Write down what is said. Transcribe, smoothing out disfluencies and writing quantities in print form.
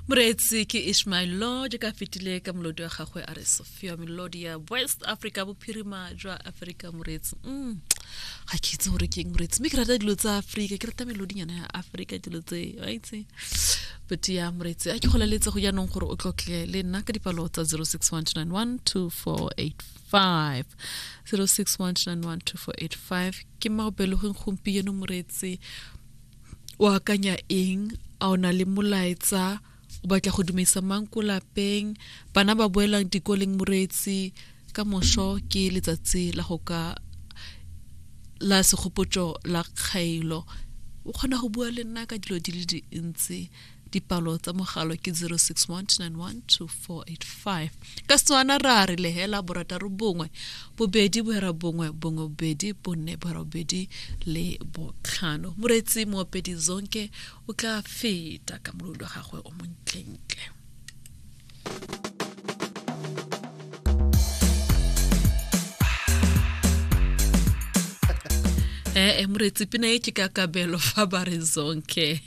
Moreetsi ke Ishmael Law jaaka a fetile ka molodi wa gagwe a re Sophia melodi ya West Africa bophirima jwa Africa moreetsi mm. Ga ke itse gore ke eng moreetsi mme ke rata dilo tsa Africa ke rata melodinyana ya Africa dilo tse wa itse but ya moreetsi a ke go laletse go jaanong gore o tlotle le nna ka dipalo tsa 0612912485 0612912485 ke maobelegeng gompieno moreetsi O akanya eng? A o na le molaetsa? O batla go dumedisa mang ko lapeng? Bana ba boelang dikoleng moreetsi ka moso ke letsatsi la go ka la segopotso la kgailo. O kgona go bua le nna ka dilo di le dintsi. Dipalo tsa mogalo ke 0612912485. Ka Setswana ra re lehela borataro bongwe bobedi bohera bongwe bongwe bobedi bonne bohera bobedi le botlhano. Moreetsi moopedi Zonke o tla feta ka molodi wa gagwe o montlentle. Ee, moreetsi pina e ke ka kabelo fa ba re Zonke.